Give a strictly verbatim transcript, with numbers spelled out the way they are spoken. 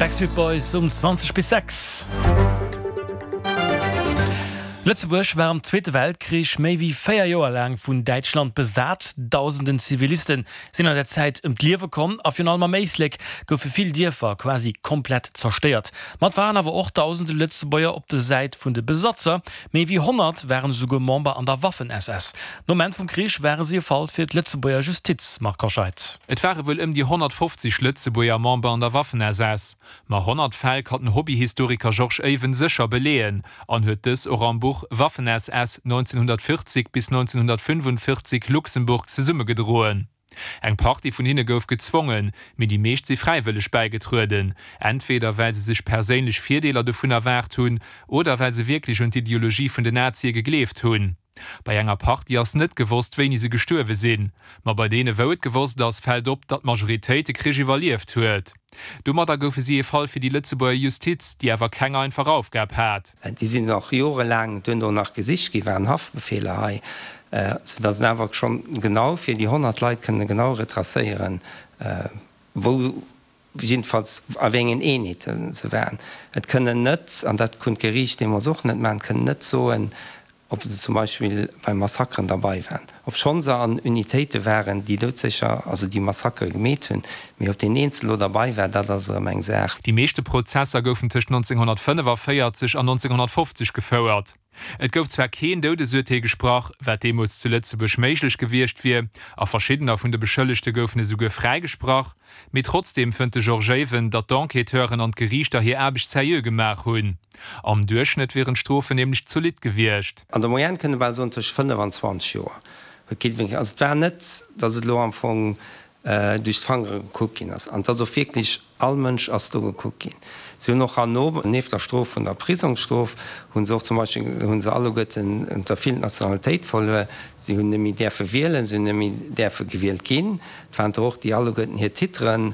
Backstreet Boys um zwanzeg bis sechs. Lëtzebuerg war am Zweete Weltkrich méi wéi véier Joer laang vun Däitschland besat. Dausenden Ziviliste sinn an där Zäit ëm d'Liewe komm a virun allem am Éislek goufe vill Dierfer quasi komplett zerstéiert. Ma et waren awer och dausende Lëtzebuerger op der Säit vun de Besatzer. Méi wéi honnert waren esouguer Member an der Waffen-SS. Nom Enn vum Krich ware si e Fall fir d'Lëtzebuerger Justiz, Marc Hoscheid. Et ware wuel ëm déi honnertfofzeg Lëtzebuerger Member an der Waffen-SS. Ma honnert Fäll kann den Hobbyhistoriker Georges Even sécher beleeën an huet dës och am Buch Waffen-SS neunzehnhundertvierzig bis neunzehnhundertfünfundvierzig Luxemburg zesummegedroen. Eng Partie vun hinne gouf gezwongen, mee déi meescht si fräiwëlleg bäigetrueden, entweder well se sech perséinlech Virdeeler dovun erwaart hunn oder well se wierklech un d'Ideologie vun den Nazie gegleeft hunn. Bei enger Partie ass net gewosst, wéini se gestuerwe sinn. Ma bei deene wou et gewosst ass, fält op, datt d'Majoritéit de Krich iwwerlieft huet. Domadder goufe si ee Fall fir déi Lëtzebuerger Justiz, déi awer keng einfach Aufgab hat. Déi sinn och jorelaang duerno nach gesicht ginn, waren Haftbefeeler hei, soudatt een awer schonn genau fir déi honnert Leit kënne genau retracéieren, wou jiddefalls a wéi engen Eenheete se waren. Et kënnen net, an dat konnt d'Geriicht deemools och net maachen, kënnen net soen, ob se zum Beispill bei Massakeren derbei waren, obschonn se an Unitéite waren, déi doudsécher, also déi Massakere gemeet hunn, mee ob deen Eenzel elo derbei war, dat ass erëm eng Saach. Déi meeschte Prozesser goufen tëscht nonzénghonnertfënnefavéierzeg an nonzénghonnertfofzeg gefouert. Et gouf zwar keen Doudesurteel gesprach, wat deemools zu Lëtzebuerg méiglech gewiescht wier, a verschiddener vun de Beschëllegte goufen esouguer fräigesprach, mee trotzdeem fënnt de Georges Even, datt d'Enquêteuren an d'Geriichter hir Aarbecht seriö gemaach hunn. Am Duerchschnëtt wieren d'Strofen nämlech zolidd gewiescht. An der Moyenne kënnt e bal soen tëscht fënnef an zwanzeg Joer huet kee wéineg. Also et war net, datt et elo am Fong duerch d'Fangere gekuckt ginn ass. An et ass och wierklech all Mënsch ass do gekuckt ginn. Si hunn och herno, nieft der Strof vun der Prisongsstrof, hu se och zum Beispill, hu se alleguerten der vill d'Nationalitéit verluer. Si hunn net méi däerfe wielen, si hunn net méi däerfe gewielt ginn. Et waren der och, déi alleguerten hir Titeren